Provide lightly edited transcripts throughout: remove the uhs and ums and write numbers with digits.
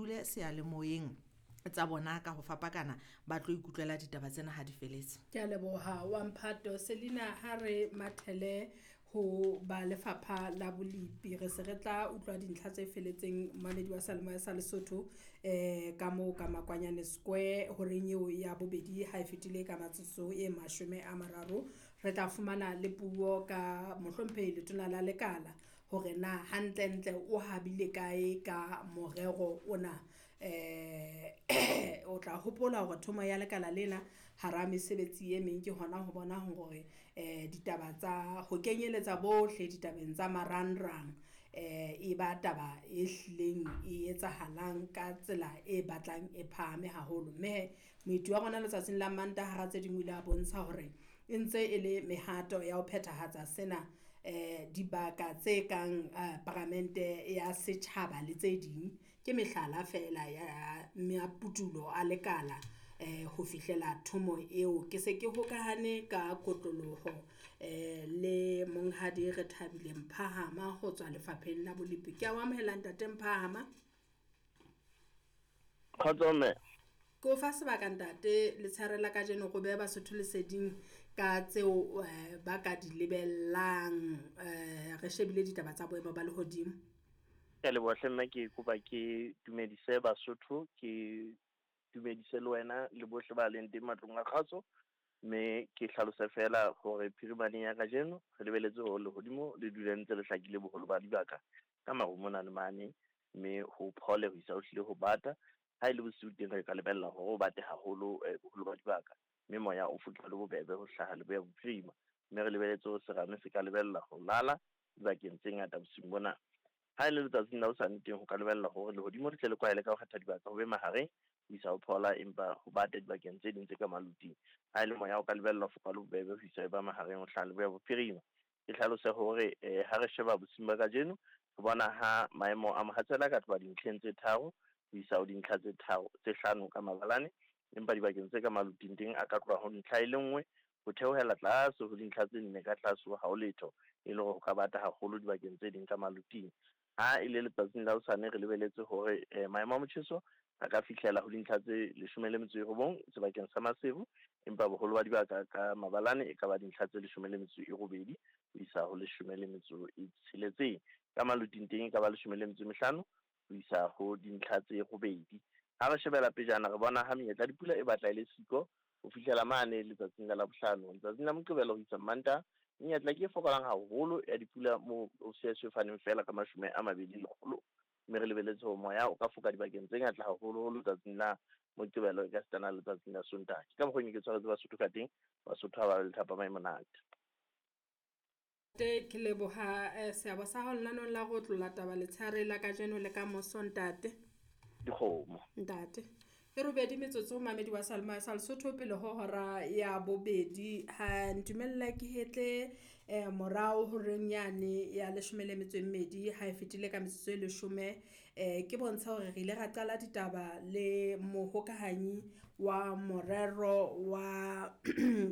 dule seyalemoyeng tsa bona ka ho fapakana ba tlo ikutlwela ditaba tsena ha di feletse. Ke a leboha wa mphato Selina, ha re mathele ho ba lefapha la bolepi re se re tla utlwa dintlha tse feletseng mamedi wa seyalemoya sa Lesotho ka moo ka Makwanyane Square horeng eo ya bobedi ha e fetile ka metsotso e 30. Re tla fumana le puo ka mohlomphehi letona la lekala hore na hantlentle o habile kae ka morero ona. O tla hopola hore thomo ya lekala lena hara mesebetsi e meng ke hona ho bona hore ditaba tsa ho kenyeletsa bohle ditabeng tsa marangrang e ba taba e hlileng e etsahalang ka tsela e batlang e phahame haholo. Mme moeti wa rona letsatsing la Mantaha hara tse ding o ile a bontsha hore e ntse e le mehato ya ho phethahatsa sena dibaka tse kang paramente ya setjhaba le tse ding ke mehlala fela ya maputulo a lekala ho fihlela thomo eo. Ke se ke hokahane ka kotloloho le monghadi Rethabile Mphahama ho tswa lefapheng la bolepi. Ke a o amohela ntate Mphahama. Kgotso mme. Ke o fa sebaka ntate letshehare la kajeno go beha Basotho leseding ka tseo ba ka di lebellang re shebile ditaba tsa boemo ba lehodimo. Ke a leboha hle mme, ke kopa ke dumedise Basotho, ke dumedise le wena le bohle ba leng teng matlong a kgaso, mme ke hlalose fela hore phirimaneng ya kajeno re lebeletse hore lehodimo le dule ntse le hlakile boholo ba dibaka ka maru mona le mane, mme ho phole ho isa ho hlile ho bata. Ha e le bosiu teng re ka lebella hore o bate haholo boholo ba dibaka, mme moya o foke le bobebe ho hlaha leboya bophirima, mme re lebeletse hore serame se ka lebella ho lala dibakeng tse ngata bosiung bona. Ha e le letsatsing la hosane teng ho ka lebella hore lehodimo le tle le kwahele ka ho kgetha dibaka ho be mahareng ho isa ho phola, empa ho bate dibakeng tse ding tse ka maluting. Ha e le moya o ka lebella ho foka le bobebe ho isa e ba mahareng ho hlaha leboya bophirima. Ke hlalose hore ha re sheba bosiung ba kajeno re bona ha maemo a mohatsela ka tloha dintlheng tse 3 ho isa ho dintlha tse 5 ka mabalane, empa dibakeng tse ka maluting teng a ka tloha ho ntlha e le nngwe ho theohela tlase ho dintlha tse 4 ka tlase ha ho letho, e le hore ho ka bata haholo dibakeng tse ding ka maluting. Ha e le letsatsing la hosane re lebeletse hore maemo a motjheso a ka fihlela ho dintlha tse 19 sebakeng sa Maseru, empa boholo ba dibaka ka mabalane e ka ba dintlha tse 18 ho isa ho 16. Ka maluting teng e ka ba 15 ho isa ho dintlha tse 8. Ha re shebela pejana re bona ha menyetla dipula e batla e le siko ho fihlela mane letsatsing la Labohlano. Letsatsing la Moqebelo ho isa Mantaha menyetla ke e fokolang haholo ya dipula moo o se faneng fela ka 20 lekgolo, mme re lebeletse hore moya o ka foka dibakeng tse ngata haholoholo letsatsing la Moqebelo e ka sitana letsatsing la Sontaha. Ke ka mokgwa ke tshwaretse Basotho ka teng, Basotho ha ba le thapama e monate. Ke leboha seabo sa hao lenanong la go tlola taba letshehare la kajeno le ka moso ntate. Dikgomo. Ntate. E robedi metsotso mamedi wa seyalemoya sa Lesotho pele ho hora ya bobedi. Ha ntumella ke hetle morao horeng yane ya 12 ha e fetile ka metsotso e 10, ke bontsha hore re ile ra qala ditaba le mohokahanyi wa morero wa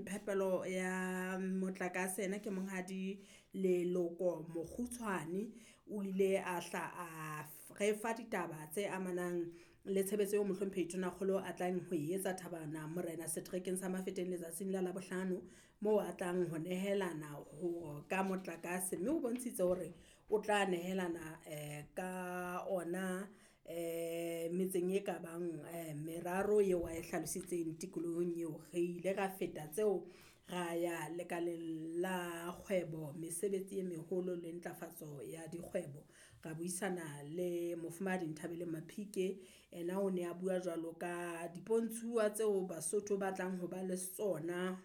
phepelo ya motlakase, ena ke monghadi Leloko Mokgutshwane. O ile a hla a re fa ditaba tse amanang le tshebetso eo mohlomphehi Tonakgolo a tlang ho e etsa Thabana Morena setrekeng sa Mafeteng letsatsing la Labohlano, moo a tlang ho nehelana ho ka motlakase, mme o bontshitse hore o tla nehelana ka ona metseng e ka bang meraro eo a e hlalositseng tikolohong eo. Re ile ra feta tseo ra ya lekaleng la kgwebo, mesebetsi e meholo le ntlafatso ya dikgwebo. Ra buisana le mofumahadi Nthabeleng Maphike, ena o ne a bua jwalo ka dipontshuwa tseo Basotho ba tlang ho ba le tsona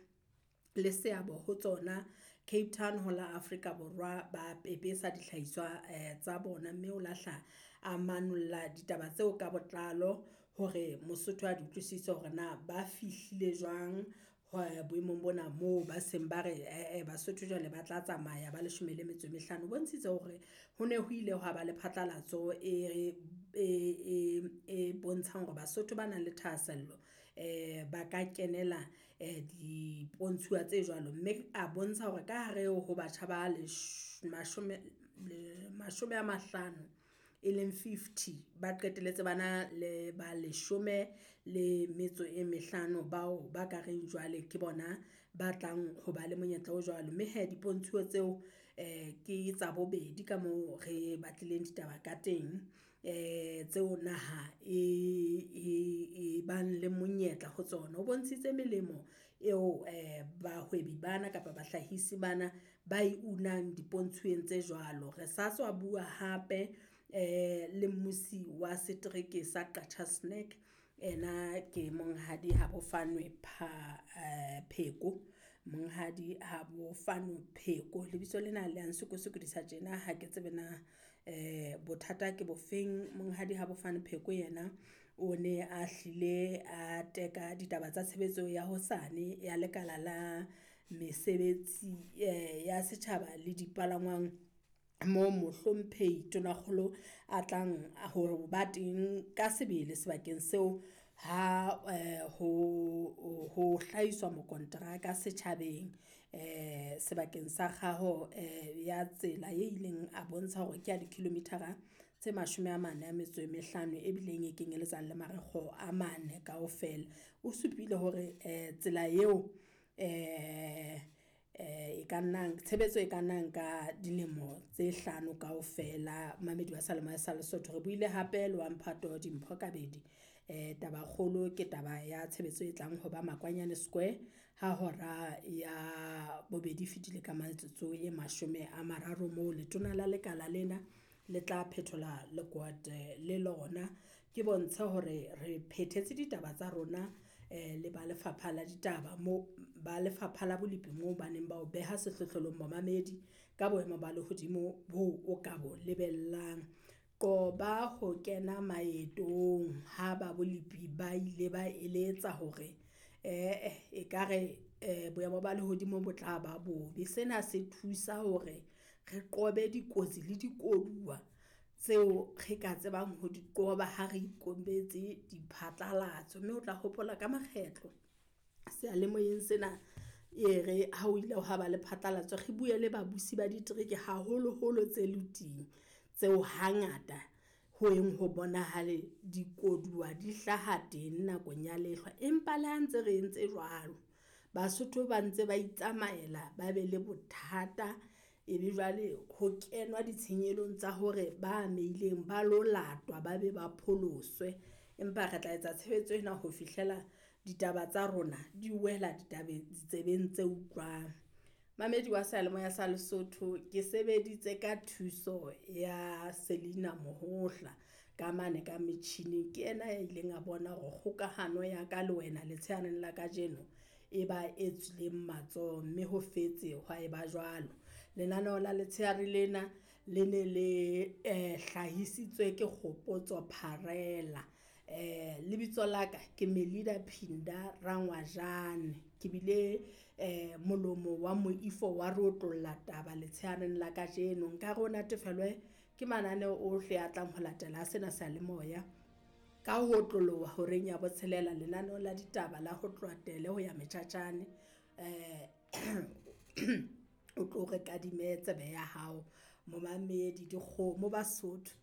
le seabo ho tsona Cape Town ho la Afrika Borwa, ba pepesa dihlahiswa tsa bona, mme o lahla a manolla ditaba tseo ka botlalo hore Mosotho a di utlwisise hore na ba fihlile jwang boemong bona moo ba seng ba re Basotho jwale ba tla tsamaya ba 15. O bontshitse hore ho ne ho ile hwa ba le phatlalatso e bontshang hore Basotho ba nang le thahasello ba ka kenela dipontshuwa tse jwalo, mme a bontsha hore ka hare ho batjha ba 50 e leng 50 ba qeteletse bana le ba 15 bao ba ka reng jwale ke bona ba tlang ho ba le monyetla o jwalo. Mme he dipontshuo tseo ke tsa bobedi ka moo re batlileng ditaba ka teng, tseo naha e bang le monyetla ho tsona. O bontshitse melemo eo bahwebi bana kapa bahlahisi bana ba e unang dipontshweng tse jwalo. Re sa tswa bua hape le mmusi wa setereke sa Qacha's Nek, ena ke Monghadi Habofanoe Pheko, Monghadi Habofano Pheko. Lebitso lena le a nsokosokodisa tjena ha ke tsebe na bothata ke bofeng. Monghadi Habofano Pheko yena o ne a hlile a teka ditaba tsa tshebetso ya hosane ya lekala la mesebetsi ya setjhaba le dipalangwang mo mohlomphehi Tonakgolo a tlang ho ba teng ka sebele sebakeng seo ha ho hlahiswa mokonteraka setjhabeng sebakeng sa kgaho ya tsela e ileng a bontsha hore ke ya di-kilometer-a tse 45 e bileng e kenyelletsang le marikgo a mane kaofela. O supile hore tsela eo e ka nnang tshebetso e ka nnang ka dilemo tse 5 kaofela. Mamedi wa seyalemoya sa Lesotho re buile hape le wa mphato Dimpho Kabedi. Taba kgolo ke taba ya tshebetso e tlang hoba Makwanyane Square ha hora ya bobedi fetile ka metsotso e 30 moo letona la lekala lena le tla phethola lekwete le lona. Ke bontshe hore re phethetse ditaba tsa rona le ba lefapha la ditaba mo ba lefapha la bolepi moo baneng ba o beha sehlohlolong momamedi ka boemo ba lehodimo bo o ka bo lebellang. Qoba ho kena maetong ha ba bolepi ba ile ba eletsa hore ekare boemo ba lehodimo bo tla ba bobe. Sena se thusa hore re qobe dikotsi le dikoduwa tseo re ka tsebang ho di qoba ha re ikobetse diphatlalatso. Mme o tla hopola ka makgetlo seyalemoyeng sena e re ha o ile hwa ba le phatlalatso, re bue le babusi ba ditereke haholoholo tse leting tseo hangata ho yeng ho bonahale dikoduwa di hlaha teng nakong ya lehlwa. Empa le ha ntse re entse jwalo, Basotho ba ntse ba itsamaela, ba be le bothata ebe jwale ho kenwa ditshenyehelo tsa hore ba ameileng ba lo latwa, ba be ba pholoswe. Empa re tla etsa tshebetso ena ho fihlela ditaba tsa rona di wela ditabeng ditsebeng tse utlwang. Mamedi wa seyalemoya sa Lesotho, ke sebeditse ka thuso ya Selina Mohohla ka mane ka metjhining. Ke yena ya ileng a bona hore kgokahano ya ka le wena letshehareng la kajeno e ba e tswileng matsoho, mme ho fetse hwa eba jwalo. Lenaneo la letshehare lena le ne le hlahisitswe ke Kgopotso Pharela. Lebitso la ka ke Melida Phinda Rangwajane. Ke bile molomo wa moifo wa re otlolla taba letshehareng la kajeno. Nka re o natefelwe ke mananeo ohle a tlang ho latela sena seyalemoya. Ka ho otloloha horeng ya botshelela lenaneo la ditaba la ho tloha tele ho ya metjhatjhane, o tlo re kadime tsebe ya hao momamedi dikgomo Basotho.